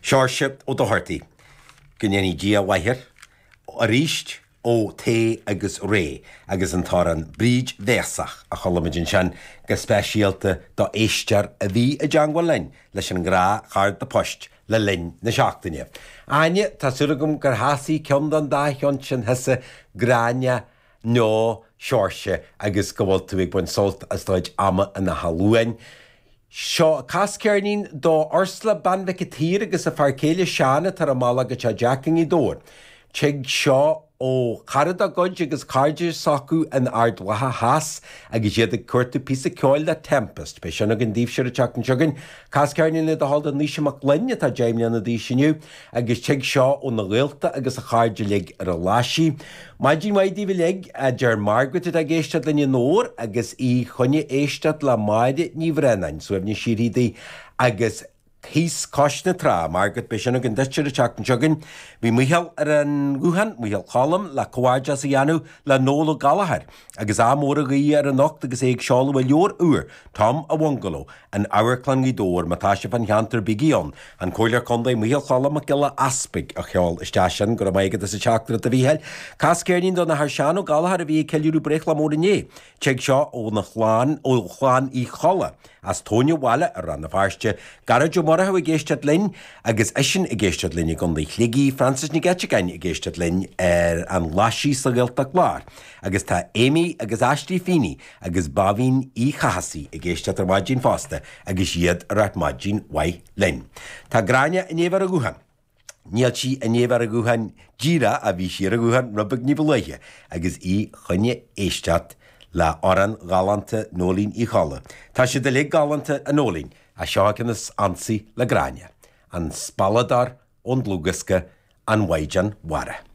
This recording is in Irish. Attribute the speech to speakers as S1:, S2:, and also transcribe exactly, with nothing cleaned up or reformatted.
S1: Seoirse Ó Dochartaigh, go ndéanaí Dia a mhaith air, arís ó Tae agus Ray agus an t-amhrán Bríd Bhéasach a chuala muid ansin go speisialta do éisteoir a bhí i dteangmháil linn leis an ngnáthchárta poist le linn na seachtaine. Áine, tá súil agam gur shásaigh ceann den dá cheann sin thusa Gráinne nó Seoirse agus go bhfuil tú ag baint sult as do chuid ama in Áth Luain. Seo cas ceirnín do Ursula bean Mhic an tSaoir agus a fear céile Seán atá ar a mbealach go teach Jack i nGaoth Dobhair. Tig seo ó chara dá gcuid agus cairde s'acu in Ard Mhacha Theas agus iad ag cuartú píosa ceoil le Tempest. Beidh sin againn daoibhse an tseachtain seo chugainn. Cas ceirnín le do thoil do Naoise Mac Gloinn atá deich mbliana d'aois inniu agus tig seo óna ghaolta agus a chairde uilig ar an Ghlaisigh. Maidin mhaith daoibh uilig a deir Margaret atá ag éisteacht linn i nDobhar agus í chun éisteacht le Máire Ní Bhraonáin, suaimhneas síoraí di agus thíos cois na trá, Margaret beidh sin againn duit ar an tseachtain seo chugainn. Bhí Micheál ar an nguthán, Micheál Choilm, le comhghairdeas a dhéanamh le Noel Ó Gallchóir, agus ádh mór a ghuí air anocht agus é ag seoladh a leabhar úr, Tom a Bhungaló, in Amharclann Ghaoth Dobhair, má tá sibh fán cheantar bígí ann. An Comhairleoir Contae Micheál Choilm Mac Giolla Easpaig a sheol isteach sin, go raibh maith agat as an teachtaireacht a Mhícheáil. Cas ceirnín don Athair Seán Ó Gallchóir a bhí ag ceiliúradh breithlá mór inné. Tig seo óna chlann ó chlann Uí Cholla as Tóin an Bhaile ar Rann na Feirste, Gearóid Ó Murchú ag éisteacht linn agus eisean ag éisteacht linn i gContae Shligigh, Francis Nic Eiteagáin ag éisteacht linn ar an Ghlaisigh sa Ghaeltacht Lár, agus tá Amy agus Ashley Feeney agus Báibhín Uí Chathasaigh ag éisteacht ar maidin fosta agus iad ag ráit maidin mhaith linn. Tá Gráinne i ndiaidh bheith ar an ghuthán. Níl sí i ndiaidh bheith ar an ghuthán díreach a bhí sí ar an ghuthán rud beag ní ba luaithe agus í chun éisteacht le amhrán galánta Nóinín Uí Cholla. Tá siad uilig galánta a Nóinín a seo ceann is ansaí le Gráinne, an spealadóir ón dlúthdhiosca an Mhaighdean Mhara.